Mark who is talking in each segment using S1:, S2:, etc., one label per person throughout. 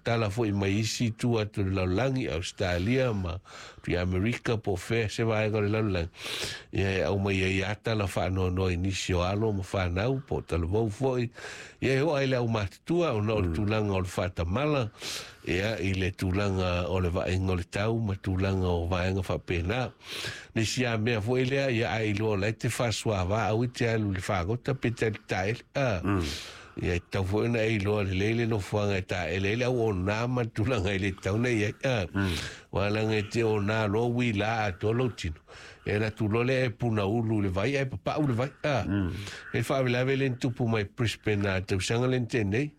S1: tala foi mai isi itu atu o le lalolagi, Ausetalia ma Amerika po o fea se vaega o le lalolagi, ia e aumai ai lava tala faanoanoa i nisi o alo ma fanau po o talavou foi, ia e oo lava i le aumatutua ona o le tulaga o le faatamala, ia i le tulaga o le vaaiga o le tau ma tulaga o vaega faapena. Le isi lava mea foi lea, ia a e iloa o la e te faasoava, aua e te alu i le fagota pe te alu i le taele. Ia e tatau foi ona e iloa lelei le nofoaga e taele ai le au ona ma le tulaga e le tatau ona i ai. Aua leaga e te ona loa uila atoa lou tino, e alu atu loa lea e punaulu i le vai ae papau le vai. E le faalavelave lea na tupu mai Brisbane a le tausaga lea na tea nei.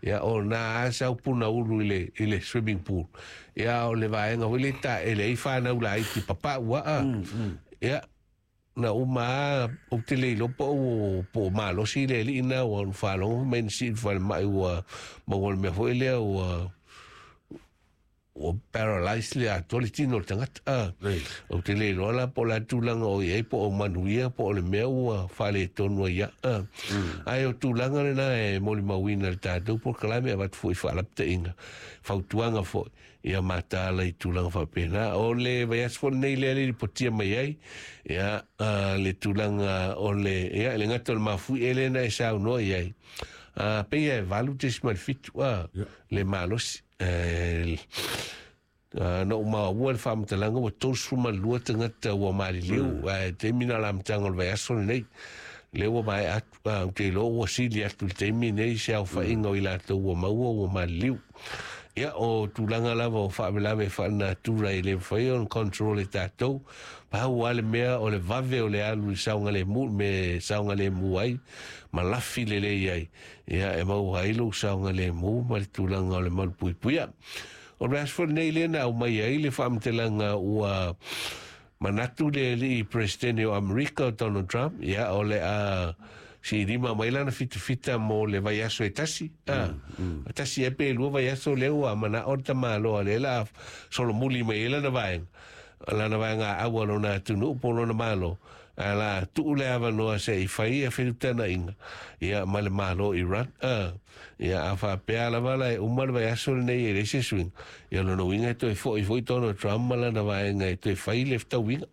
S1: Ia o na a sau punaulu i le i le swimming pool. Ia o le vaega foi lea e taele ai fanau laiti papau aa. Ia na uma a ou te le iloa po o po o malosi le alii na ua faalogo mai na sii i le falemai ua maua le mea foi lea ua ua paralyze le atoa le tino o le tagata. Ah, ou te le iloa la po o le a le tulaga o i ai, po o manuia, po o le mea ua faaletonu ai ia. Ah. Ae o tulaga lena e molimauina i le tatou polokalame, avatu foi faalapitaina, fautuaga foi, ia mataala i tulaga faapena. O le vaiaso foi lenei lea le lipotia mai ai, ia, le tulaga o le, ia, le gata o le mafuie lea na e saunoa i ai, pei e 8.7 le malosi. Na ou maua le faamatalaga ua 32 tagata ua maliliu, ae taimi na o le amataga o le vaiaso lenei lea ua maea atu. Ou te iloa ua sili atu i le taimi nei se aofaiga o i latou ua maua ua maliliu. Ia, o tulaga lava o faalavelave faalenatura e le mafai ona control e tatou. Pau lava le mea o le vave o le alu i le saogalemu, le mea e saogalemu ai ma lafi lelei ai, ia e maua ai lou saogalemu ma le tulaga o le malupuipuia. O le aso foi lenei lea na aumai ai le faamatalaga ua manatu le alii Peresetene o Amerika o Donald Trump, ia o le a silima mai lana fitafita mo le vaiaso e tasi. Tasi ea pe lua vaiaso lea ua manao le tamaloa lea la solomuli mai ai lana vaega, lana vaega aua lona atunuu po lona malo, ae la tuu le avanoa se i fai ia feutanaina ia ma le Malo Iran. Ia a faapea lava la e uma le vaiaso lenei e leai se suiga, ia lona uiga e toe foi foi Donald Trump ma lana vaega e toe fai le fetauiga.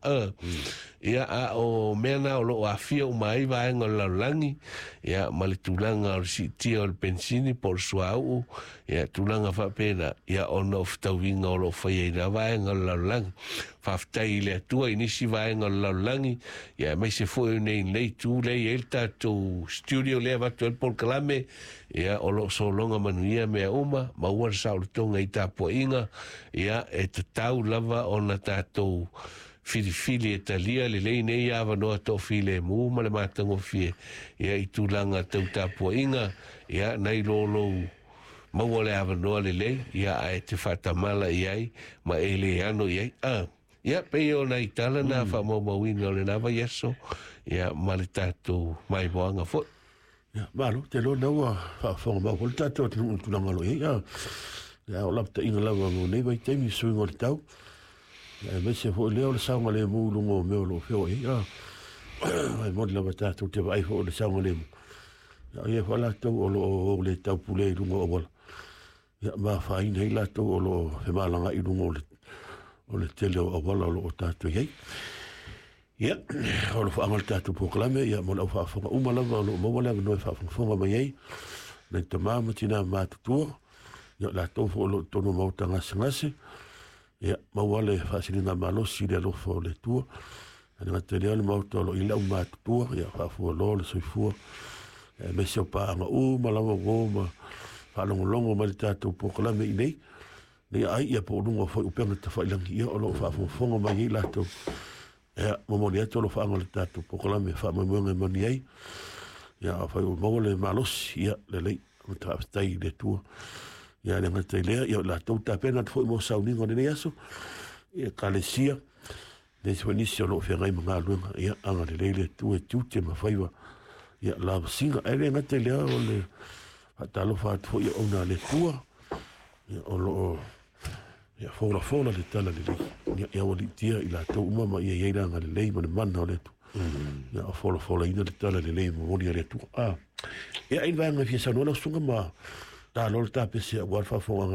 S1: Ia a o mea na o lo o aafia uma ai vaega o le lalolagi, ia ma le tulaga o le siitia o le penisini po o le suauu, ia tulaga faapena, ia ona o fetauiga o lo o faia i na vaega o le lalolagi. Faafetai i le Atua i nisi vaega o le lalolagi, ia aemaise foi o nei nei itu lea e i ai le tatou studio lea e avatu ai le polokalame, ia o lo o sologa manuia mea uma, maua le saolotoga i tapuaiga, ia e tatau lava ona tatou filifili e talia lelei nei avanoa toafilemu ma le matagofie, ia i tulaga tau tapuaiga, ia nai lo lou maua le avanoa lelei, ia ae te faatamala i ai ma e le ano i ai. Ia, pei o nai tala na faamaumauina o lena vaiaso, ia ma le tatou maimoaga foi.
S2: Ia, malo, te loa lea ua faafofoga mau foi le tatou atunuu i le tulaga o lo o i ai. Ia, o lapataiga lava mo nei vaitaimi, suiga o le tau, ia, aemaise foi lea o le saogalemu i luga o mea o lo o feoai ai. E moni lava tatou te vaai foi o le saogalemu, ia, o ia foi latou o lo o le taupule i luga o auala, ia, ma afaina ai latou o lo o femalagaai i luga o le tele o auala o lo o tatou i ai. Ia, o lo faaga le tatou polokalame, ia, mo le au faafofoga uma lava o lo o maua le avanoa e faafogafoga mai ai, nai tama ma tina matutua, ia, latou foi o lo o totonu o maota gasegase, ia, maua le faasiliga malosi i le alofa o le Atua. E le gata i lea o le maota o lo o i ai le au matutua, ia, faafualoa le soifua, aemaise o paaga uma lava ua ma faalogologo mai le tatou polokalame i nei, nei ai, ia, po o luga foi o upega tafailagi, ia, o lo o faafogafoga mai ai latou. Ia, momoli atu alofaaga o le tatou polokalame faamoemoega e moni ai. Ia, afai ua maua le malosi, ia, lelei, faafetai i le Atua. Ia, le gata i lea, ia, o latou tapena atu foi mo sauniga o lenei aso, ia, ekalesia, nisi foi nisi o lo o feagai ma galuega, ia, agalelei le Atua e tiute ma faiva, ia, lavasiga. Ae le gata i lea, o le faatalofa atu foi i auauna a le Atua, ia, o lo o Ia folafola le tala lelei, ia, ia aualiitia i latou uma ma ia i ai le agalelei ma le mana o le Atua. Ia o folafolaina le tala lelei momoli a le Atua. Ia, ai le vaega e fia saunoa lau susuga ma talo le tapese aua le faafofogaaga.